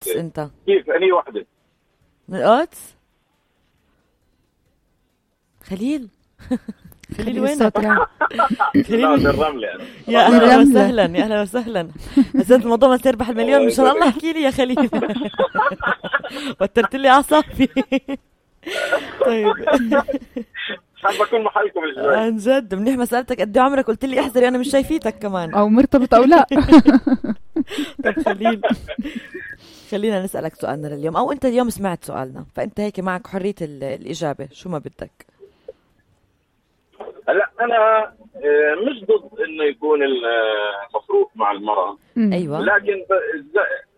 انت كيف اني وحده من القدس؟ خليل خليل وينك؟ خليل الرملة يعني. يا اهلا وسهلا يا اهلا وسهلا. حسيت الموضوع ما تربح المليون ان شاء الله. احكي لي يا خليل. وترت لي اعصابي. طيب حابة اكون محلكم الجوي عن جد. منيح ما سالتك قد عمرك، قلت لي احذري انا مش شايفيتك كمان او مرتبط او لا. طب خليل خلينا نسالك سؤالنا لليوم، او انت اليوم سمعت سؤالنا فانت هيك معك حريه الاجابه شو ما بدك. هلا انا مش ضد انه يكون المصروف مع المرأة. ايوه لكن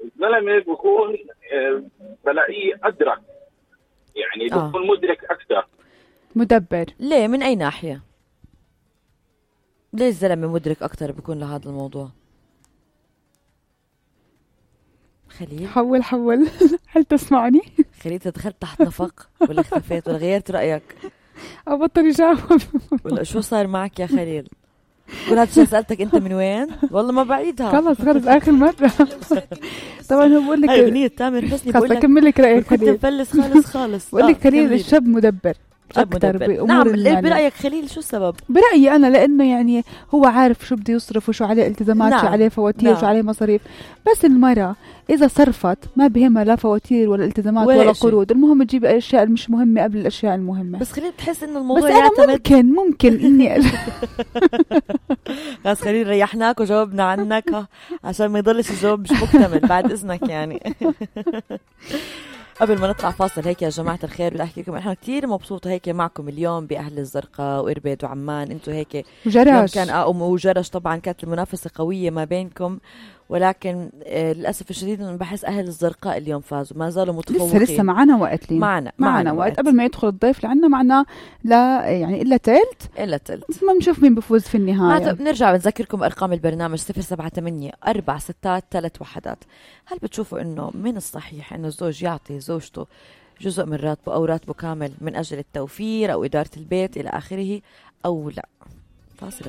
الزلمه بكون بلاقيه ادرك، يعني بكون مدرك اكثر، مدبر. ليه؟ من اي ناحيه؟ ليه الزلمه مدرك اكثر بيكون لهذا الموضوع؟ خليل حول هل تسمعني؟ خليل دخلت تحت نفق ولا اختفيت ولا غيرت رايك او بطل يجاوب ولا شو صار معك يا خليل؟ قول هذا الشيء سألتك انت من وين؟ والله ما بعيدها. خلص اخر مرة. طبعا هو بقول لك هاي اغنية تامر حسني. بقول لك اكمل لك رايك كنت مفلس خالص. بقول لك خليل الشاب مدبر اكثر بامور. نعم. ليه برايك خليل؟ شو السبب؟ برايي انا لانه يعني هو عارف شو بده يصرف وشو عليه التزامات. نعم. شو عليه فواتير. نعم. شو عليه مصاريف. بس المرأة اذا صرفت ما بهمها لا فواتير ولا التزامات ولا قروض، المهم تجيب الاشياء المش مهمه قبل الاشياء المهمه. بس خليل بتحس انه الموضوع بس انا ممكن اني بس خليل ريحناك وجاوبنا عنك عشان ما يضلش الجواب مش مكتمل بعد اذنك يعني. قبل ما نطلع فاصل هيك يا جماعة الخير بدي أحكي لكم إحنا كتير مبسوطة هيك معكم اليوم بأهل الزرقاء وإربد وعمان. أنتوا هيك وجرش كان وجرش طبعا كانت المنافسة قوية ما بينكم، ولكن للأسف الشديد أنا بحس أهل الزرقاء اليوم فازوا، ما زالوا متفوقين. لسه معنا وقت. معنا وقت قبل ما يدخل الضيف لعنا معنا لا يعني إلا تلت ما نشوف مين بفوز في النهاية. بنرجع بنذكركم أرقام البرنامج 078-461. هل بتشوفوا إنه من الصحيح إنه الزوج يعطي زوجته جزء من راتبه أو راتبه كامل من أجل التوفير أو إدارة البيت إلى آخره أو لا؟ فاصل.